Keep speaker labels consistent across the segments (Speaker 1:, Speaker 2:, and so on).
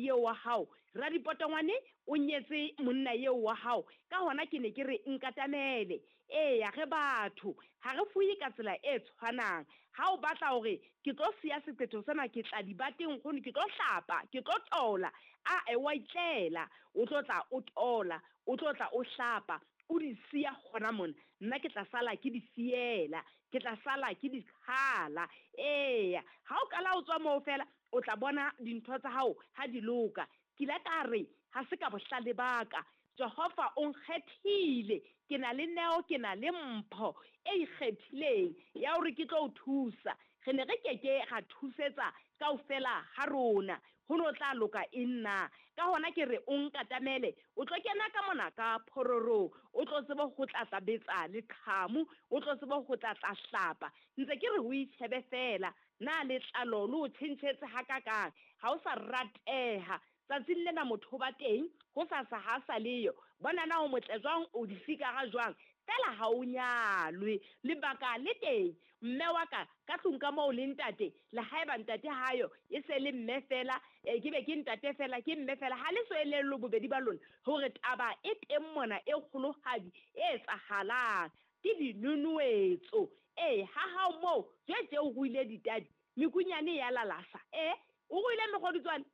Speaker 1: eo wa hao. Radipotongwane o nyetse monna eo wa hao. Ka hona ke ne ke re nkatamele. Eya, re batho, ha re fuwe ka tsela e tshwanang. Ha o batla hore ke tlo siya seqetho sena, ke tla dibateng nkgono, ke tlo hlapa, ke tlo tola. Ae, wa itlela, o tlo tla o tola, o tlo tla o hlapa, o di siya hona mona. Nna ke tla sala ke di fiela, ke tla sala ke di qhala. Eya, ha o qala o tswa moo feela, o tla bona dintho tsa hao ha di loka. Ke ile ka re, ha se ka bohlale ba ka, Jehova o nkgethile, ke na le neo, ke na le mpho e ikgethileng ya hore ke tlo o thusa. Re ne re ke ke ra thusetsa kaofela ha rona, ho no tla loka eng na? Ka hona ke re o nkatamele, o tlo kena ka mona ka phororong, o tlo tsebe ho tla tla betsa leqhamu, o tlo tsebe ho tla tla hlapa. Ntse ke re o itjhebe feela, na letlalo le o tjhentjhetse hakakang, ha o sa rateha. Tsatsing lena motho o ba teng, hosasa ha a sa leyo. Bona na o motle jwang, o difikara jwang, feela ha o nyalwe. Lebaka le teng, mme wa ka, ka tlung ka moo le ntate, le haeba ntate hayo, e se le mme feela, e, ke be ke ntate feela, ke mme feela, ha le so elellwe bobedi ba lona hore taba e teng mona e kgolohadi e etsahalang. Ke dinonoetso. Ee, ha hao moo, jwe tje o ruile ditadi, mekunyane e ya lalasa. Ee, o ruile mekgodutswane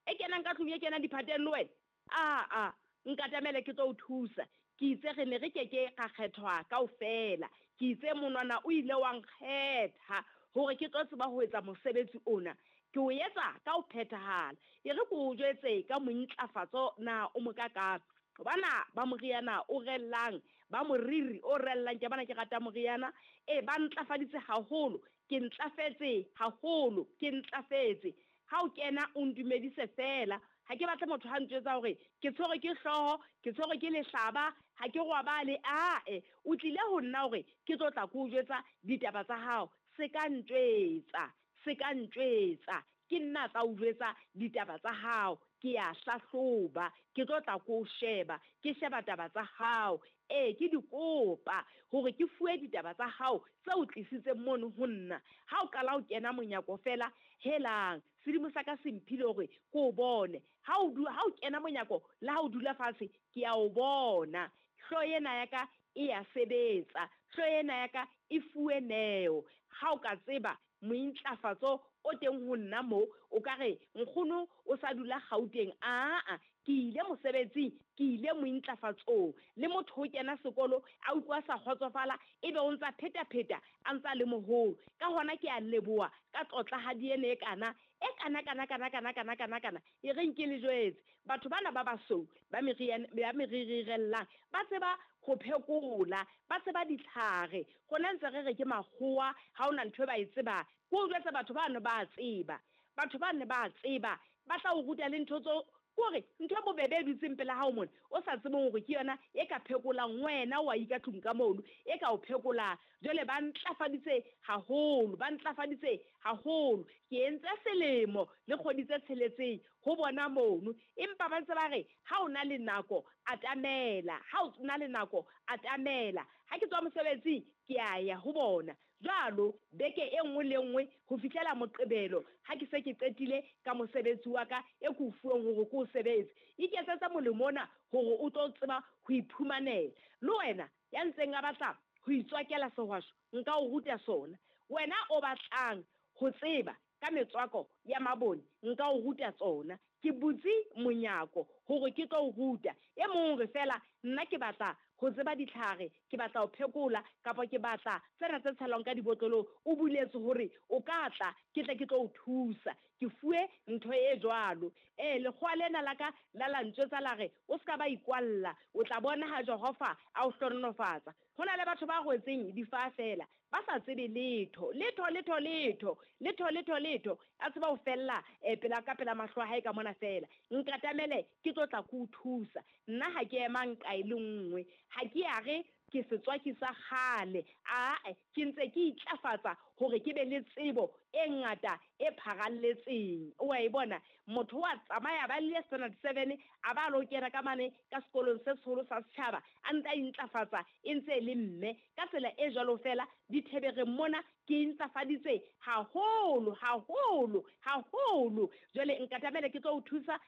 Speaker 1: e kenang ka tlung, e kenang diphateng le wena. Aa, nkatamele ke tlo o thusa. Ke itse re ne re ke ke ra kgethwa kaofela. Ke itse monwana o ile wa nkgetha hore ke tlo tseba ho etsa mosebetsi ona. Ke o etsa ka ho phethahala. E re ke o jwetse ka mointlafatso na o mokakang. Bana ba moriana o rellang, ba moriri o rellang, ke bana ke rata moriana. E, ba ntlafaditse haholo. Ke ntlafetse haholo, ke ntlafetse. Ha o kena o ndumedise feela. Ha ke batle motho ha ntjwetsa hore ke tshwerwe ke hlooho, ke tshwerwe ke lehlaba, ha ke robale. Ae, o tlile ho nna hore ke tlo tla ke o jwetsa ditaba tsa hao. Se ka ntjwetsa, se ka ntjwetsa. Ke nna tla o jwetsa ditaba tsa hao. Ke ya hlahloba, ke tlo tla ke o sheba, ke sheba taba tsa hao. Ee, ke di kopa hore ke fuwe ditaba tsa hao tse o tlisitseng mono ho nna. Ha o qala o kena monyako feela, helang, sedimo sa ka se mphile hore ke o bone. Ha o ha o kena monyako le ha o dula fatshe, ke a o bona. Hlooho ena ya ka e ya sebetsa, hlooho ena ya ka e fuwe neo. Ha o ka tseba mointlafatso o teng ho nna mo, o ka re nkgono o sa dula Gauteng. Aa, ke ile mosebetsing, ke ile mointlafatsong. Le motho o kena sekolo a utlwa sa kgotsofala, ebe o ntsa pheta-pheta a ntsa le moholo. Ka hona ke a leboha ka tlotlahadi ena e kana, e kana kana kana kana kana kana kana. E reng ke le jwetse, batho bana ba basweu ba meririrellang ba tseba ho phekola, ba tseba ditlhare. Rona ntse re re ke makgowa, ha hona ntho e ba e tsebang. Ke o jwetse batho bano ba tseba, batho bano ba tseba, ba tla o ruta le ntho tseo. Kore ntho e bobebe e dutseng pela hao mona, o sa tsebeng hore ke yona e ka phekolang wena, wa ika tlung ka mono, e ka o phekolang. Jwale ba ntlafaditse haholo, ba ntlafaditse haholo. Ke entse selemo le kgwedi tse tsheletseng ho bona mono, empa ba ntse ba re ha o na le nako atamela, ha o na le nako atamela. Ha ke tswa mosebetsing ke a ya ho bona jwalo beke e nngwe le nngwe ho fihlela Moqebelo, ha ke se ke qetile ka mosebetsi wa ka e ke o fuweng hore ke o sebetse. Iketsetse molemo ona hore o tlo tseba ho iphumanela. Le wena ya ntseng a batla ho itswakela sehwasho, nka o ruta sona. Wena o batlang ho tseba ka metswako ya mabone, nka o ruta tsona. Ke butse monyako hore ke tlo o ruta. E mong hore feela nna ke batla ho tseba ditlhare, ke batla ho phekola, kapa ke batla tsena tse tshelwang ka dibotlolong, o buletse hore o ka tla, ke tle ke tlo o thusa. Ke fuwe ntho e jwalo. Ee, lekgowa lena la ka la la ntjwetsa la re, o ska ba ikwalla, o tla bona ha Jehova a o hlohonolofatsa. Ho na le batho ba rwetseng difaha feela, ba sa tsebe letho, letho, letho, letho, letho, letho, letho. A tseba ho fella pela ka pela mahlo a hae ka mona feela. Nkatamele ke tlo tla ke o thusa. Nna ha ke ema nqa e le nngwe, ha ke ya re ke setswaki sa kgale. Ae, ke ntse ke itlafatsa hore ke be le tsebo e ngata e pharalletseng. O a e bona, motho wa tsamaya ba le standard 7, a ba lo kena ka mane ka sekolong se seholo sa setjhaba, a ntse a intlafatsa e ntse e le mme. Ka tsela e jwalo feela dithebereng mona ke intlafaditse haholo, haholo, haholo. Jwale nkatamele ke tlo o thusa.